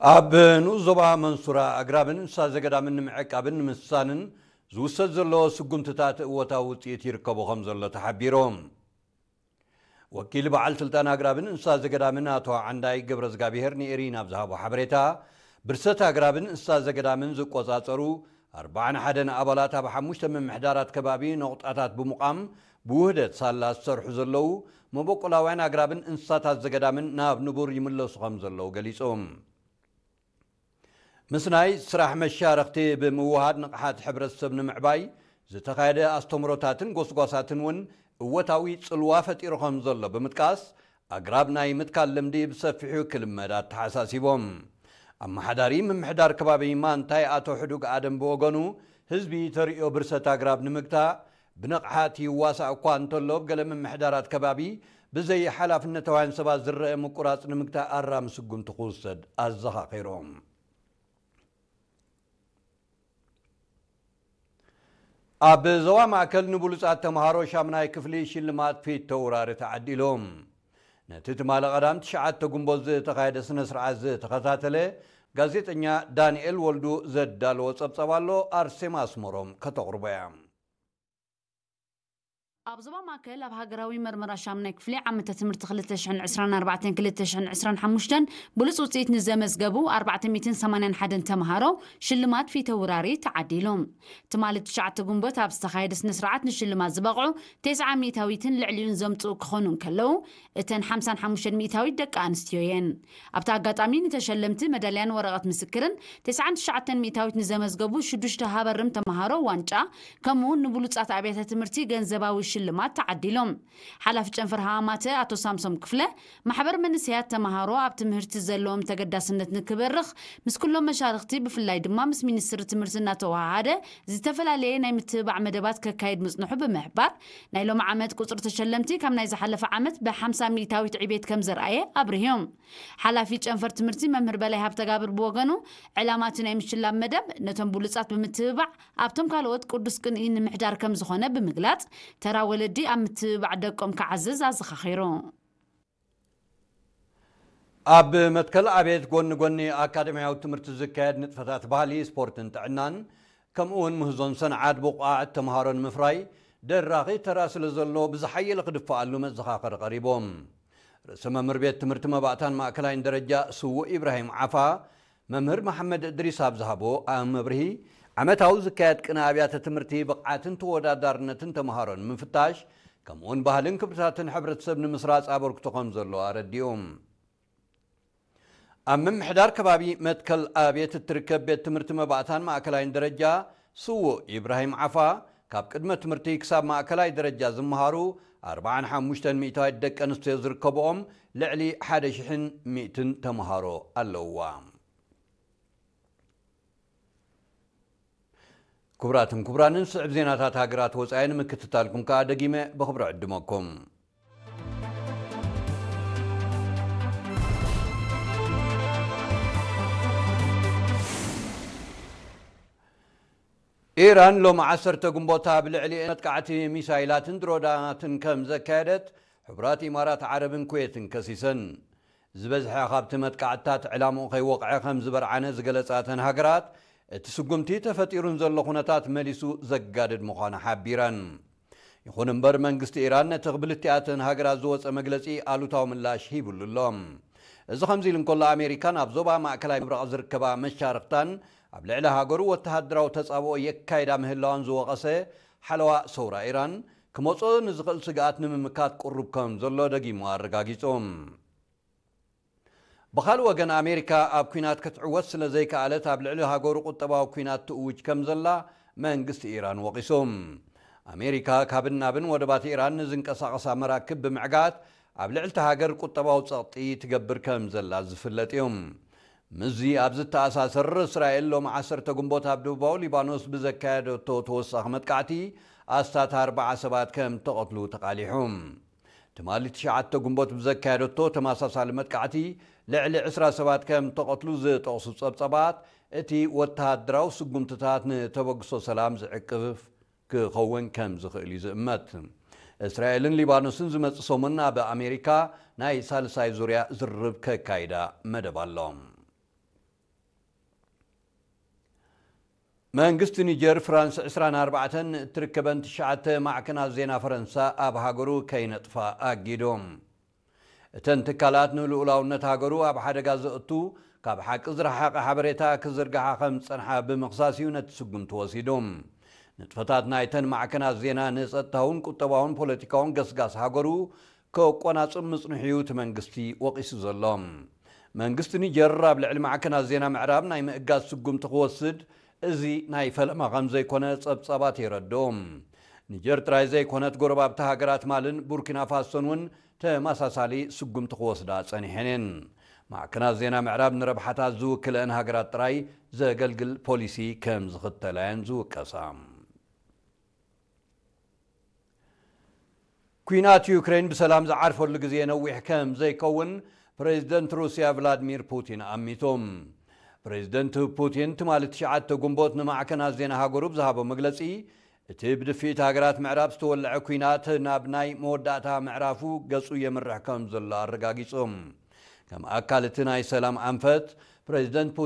ኣብ ንኡስ ዞባ መንሱራ ኣግራብን እንስሳ ዘገዳምን ንምዕቃብን ንምስሳንን ዝውሰድ ዘሎ ስጉምትታት እወታዊ ውፅኢት ይርከቦ ከም ዘሎ ተሓቢሮም። ወኪል በዓል ስልጣን ኣግራብን እንስሳ ዘገዳምን ኣቶ ዓንዳይ ገብረዝጋብሄር ንኤሪና ኣብ ዝሃቦ ሓበሬታ፣ ብርሰት ኣግራብን እንስሳ ዘገዳምን ዝቆጻጸሩ ኣርባዓን ሓደን ኣባላት ኣብ ሓሙሽተ ምምሕዳራት ከባቢ ነቑጣታት ብምቋም ብውህደት ሳላ ዝሰርሑ ዘለዉ መበቆላውያን ኣግራብን እንስሳታት ዘገዳምን ናብ ንቡር ይምለሱ ከም ዘለዉ ገሊጾም። ምስናይ ስራሕ መሻርኽቲ ብምውሃድ ንቕሓት ሕብረተሰብ ንምዕባይ ዝተኻየደ ኣስተምሮታትን ጎስጓሳትን እውን እወታዊ ጽልዋ ፈጢሩ ከም ዘሎ ብምጥቃስ፣ ኣግራብ ናይ ምትካል ልምዲ ብሰፊሑ ክልመድ ኣተሓሳሲቦም። ኣመሓዳሪ ምምሕዳር ከባቢ ማንታይ ኣቶ ሕዱግ ኣደም ብወገኑ፣ ህዝቢ ተርእዮ ብርሰት ኣግራብ ንምግታእ ብንቕሓት ይዋሳእ እኳ እንተሎ፣ ኣብ ገለ ምምሕዳራት ከባቢ ብዘይ ሓላፍነታውያን ሰባት ዝረአ ምቁራጽ ንምግታእ ኣራሚ ስጉምቲ ክውሰድ ኣዘኻኺሮም። ኣብ ዞባ ማእከል ንብሉጻት ተምሃሮ ሻምናይ ክፍሊ ሽልማት ፊት ተውራሪ ተዓዲሎም። ነቲ ትማሊ ቀዳም ትሽዓተ ጉንቦት ዝተኻየደ ስነ ስርዓት ዝተኸታተለ ጋዜጠኛ ዳንኤል ወልዱ ዘዳለዎ ጸብጻብ ኣሎ፣ ኣርሴማ ኣስመሮም ከተቕርቦ እያ። ኣብ ዞባ ማእከል ኣብ ሃገራዊ መርመራ ሻምናይ ክፍሊ ዓመተ ትምህርቲ ክልተ ሽሕን ዕስራን ኣርባዕተን ክልተ ሽሕን ዕስራን ሓሙሽተን ብሉጽ ውጽኢት ንዘመዝገቡ ኣርባዕተ ሚእትን ሰማንያን ሓደን ተምሃሮ ሽልማት ፊተውራሪ ተዓዲሉ። ትማሊ ትሽዓተ ጉንቦት ኣብ ዝተኻየደ ስነ ስርዓት ንሽልማት ዝበቕዑ ተስዓ ሚእታዊትን ልዕሊኡን ዘምጽኡ ክኾኑ እንከለዉ፣ እተን ሓምሳን ሓሙሽተን ሚእታዊት ደቂ ኣንስትዮ እየን። ኣብቲ ኣጋጣሚ ንተሸለምቲ መዳልያን ወረቐት ምስክርን፣ ተስዓን ትሽዓተን ሚእታዊት ንዘመዝገቡ ሽዱሽተ ሃበርም ተምሃሮ ዋንጫ፣ ከምኡ እውን ንብሉጻት ኣብያተ ትምህርቲ ገንዘባዊ ሽልማት ተዓዲሎም። ሓላፊ ጨንፈር ሃማማተ ኣቶ ሳምሶም ክፍለ፣ ማሕበር መንእሰያት ተምሃሮ ኣብ ትምህርቲ ዘለዎም ተገዳስነት ንክበርኽ ምስ ኩሎም መሻርኽቲ ብፍላይ ድማ ምስ ሚኒስትሪ ትምህርቲ እናተወሃሃደ ዝተፈላለየ ናይ ምትብባዕ መደባት ከካይድ ምጽንሑ ብምሕባር፣ ናይ ሎሚ ዓመት ቁጽሪ ተሸለምቲ ካብ ናይ ዝሓለፈ ዓመት ብሓምሳ ሚእታዊት ዕቤት ከም ዘርኣየ ኣብርህዮም። ሓላፊ ጨንፈር ትምህርቲ መምህር በላይ ሃብተጋብር ብወገኑ፣ ዕላማ እቲ ናይ ምሽላም መደብ ነቶም ብሉጻት ብምትብባዕ ኣብቶም ካልኦት ቅዱስ ቅንኢ ንምሕዳር ከም ዝኾነ ብምግላጽ፣ ተራ ወለዲ ኣብ ምትብባዕ ደቆም ክዓዝዝ ኣዘኻኺሩ። ኣብ መትከል ኣቤት ጎኒ ጎኒ ኣካደሚያዊ ትምህርቲ ዝካየድ ንጥፈታት ባህሊ፣ ስፖርትን ጥዕናን፣ ከምኡ እውን ምህዞን ሰንዓት ብቑዓት ተምሃሮ ንምፍራይ ደራኺ ተራ ስለ ዘሎ ብዝሓየለ ክድፈኣሉ መዘኻኸሪ ቀሪቦም። ርእሰ መምህር ቤት ትምህርቲ መባእታን ማእከላይን ደረጃ ስዉእ ኢብራሂም ዓፋ፣ መምህር መሓመድ እድሪስ ኣብ ዝሃቦ መብርሂ፣ ዓመታዊ ዝካየድ ቅነ ኣብያተ ትምህርቲ ብቕዓትን ተወዳዳርነትን ተምሃሮ ንምፍታሽ፣ ከምኡውን ባህልን ክብርታትን ሕብረተሰብ ንምስራጽ ኣበርክቶ ከም ዘለዎ ኣረዲኡ። ኣብ ምምሕዳር ከባቢ መትከል ኣብየት እትርከብ ቤት ትምህርቲ መባእታን ማእከላይን ደረጃ ስዉእ ኢብራሂም ዓፋ፣ ካብ ቅድመ ትምህርቲ ክሳብ ማእከላይ ደረጃ ዝመሃሩ ኣርባዓን ሓሙሽተን ሚእታዊት ደቂ ኣንስትዮ ዝርከብኦም ልዕሊ ሓደ ሽሕን ሚእትን ተምሃሮ ኣለውዋ። ክቡራትን ክቡራንን፣ ስዕብ ዜናታት ሃገራት ወጻኢ ንምክትታልኩም ከኣ ደጊመ ብኽብሪ ዕድመኩም። ኢራን ሎሚ ዓሰርተ ግንቦት ኣብ ልዕሊኤን መጥቃዕቲ ሚሳይላትን ድሮናትን ከም ዘካየደት ሕቡራት ኢማራት ዓረብን ኩዌትን ከሲሰን። ዝበዝሐ ካብቲ መጥቃዕትታት ዕላምኡ ከይወቕዐ ከም ዝበርዓነ ዝገለጻ እተን ሃገራት፣ እቲ ስጉምቲ ተፈጢሩ ንዘሎ ኩነታት መሊሱ ዘጋድድ ምዃኑ ሓቢረን። ይኹን እምበር፣ መንግስቲ ኢራን ነቲ ክብልቲኣተን ሃገራት ዝወጸ መግለጺ ኣሉታዊ ምላሽ ሂብሉ ኣሎ። እዚ ከምዚ ኢሉ እንከሎ፣ ኣሜሪካ ናብ ዞባ ማእከላይ ምብራቕ ዝርከባ መሻርኽታን ኣብ ልዕሊ ሃገሩ ወተሃደራዊ ተጻብኦ የካይዳ ምህላዋን ዝወቐሰ ሓለዋ ሰውራ ኢራን፣ ክመጾ ንዝኽእል ስግኣት ንምምካት ቅሩብ ከም ዘሎ ደጊሙ ኣረጋጊጹ። ብኻልእ ወገን፣ ኣሜሪካ ኣብ ኲናት ክትዕወት ስለ ዘይከኣለት፣ ኣብ ልዕሊ ሃገሩ ቁጠባዊ ኲናት ትእውጅ ከም ዘላ መንግስቲ ኢራን ወቒሱ። ኣሜሪካ ካብን ናብን ወደባት ኢራን ንዝንቀሳቐሳ መራክብ ብምዕጋት፣ ኣብ ልዕሊ እታ ሃገር ቁጠባዊ ጸቕጢ ትገብር ከም ዘላ ዝፍለጥ እዩ። ምስዚ ኣብ ዝተኣሳሰር፣ እስራኤል ሎሚ ዓሰርተ ግንቦት ኣብ ደቡባዊ ሊባኖስ ብዘካየደቶ ተወሳኺ መጥቃዕቲ ኣስታት ኣርባዓ ሰባት ከም ተቐትሉ ተቓሊሑ። ትማሊ ትሽዓተ ግንቦት ብዘካየደቶ ተመሳሳሊ መጥቃዕቲ ልዕሊ ዕስራ ሰባት ከም ተቐትሉ ዝጠቕሱ ጸብጻባት፣ እቲ ወተሃደራዊ ስጉምትታት ንተበግሶ ሰላም ዝዕቅፍ ክኸውን ከም ዝኽእል እዩ ዝእመት። እስራኤልን ሊባኖስን ዝመጽእ ሰሙን ኣብ ኣሜሪካ ናይ ሳልሳይ ዙርያ ዝርርብ ከካይዳ መደብ ኣሎ። መንግስቲ ኒጀር ፍራንስ ዕስራን ኣርባዕተን እትርከበን ትሽዓተ ማዕከናት ዜና ፈረንሳ ኣብ ሃገሩ ከይነጥፋ ኣጊዶም። እተን ትካላት ንልኡላውነት ሃገሩ ኣብ ሓደጋ ዘእቱ ካብ ሓቂ ዝረሓቐ ሓበሬታ ክዝርግሓ ከም ዝጸንሓ ብምኽሳስ እዩ ነቲ ስጉምቲ ወሲዱ። ንጥፈታት ናይተን ማዕከናት ዜና ንጸጥታውን ቁጠባውን ፖለቲካውን ገስጋስ ሃገሩ ከቆናጽብ ምጽንሑ እዩ እቲ መንግስቲ ወቒሱ ዘሎ። መንግስቲ ኒጀር ኣብ ልዕሊ ማዕከናት ዜና ምዕራብ ናይ ምእጋድ ስጉምቲ ክወስድ እዚ ናይ ፈለማ ከም ዘይኮነ ጸብጻባት የረድኡ። ኒጀር ጥራይ ዘይኮነት ጎረባብቲ ሃገራት ማልን ቡርኪና ፋሶን እውን ተመሳሳሊ ስጉምቲ ክወስዳ ጸኒሐን እየን። ማዕከናት ዜና ምዕራብ ንረብሓታት ዝውክለአን ሃገራት ጥራይ ዘገልግል ፖሊሲ ከም ዝኽተላ እየን ዝውቀሳ። ኲናት ዩክሬን ብሰላም ዝዓርፈሉ ግዜ ነዊሕ ከም ዘይከውን ፕሬዚደንት ሩስያ ቭላድሚር ፑቲን ኣሚቶም። ፕሬዚደንት ፑቲን ትማሊ ትሽዓተ ጉንቦት ንማዕከናት ዜና ሃገሩ ብዝሃቦ መግለጺ፣ እቲ ብድፍኢት ሃገራት ምዕራብ ዝተወልዐ ኲናት ናብ ናይ መወዳእታ ምዕራፉ ገጹ የምርሕ ከም ዘሎ ኣረጋጊጹ። ከም ኣካል እቲ ናይ ሰላም ኣንፈት ፕሬዚደንት ፑቲን